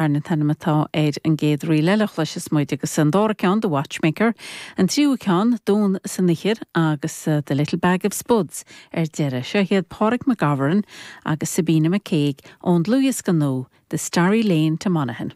An t-ainm atá ar an gcéad ríl eile a chloisfeas muid agus an dara ceann, The Watchmaker, an tríú ceann, Donn san Oighear agus The Little Bag of Spuds ar deireadh. Seo iad Pádraig McGovern agus Sabina McCague ón dlúthdhiosca nua, The Starry Lane to Monaghan.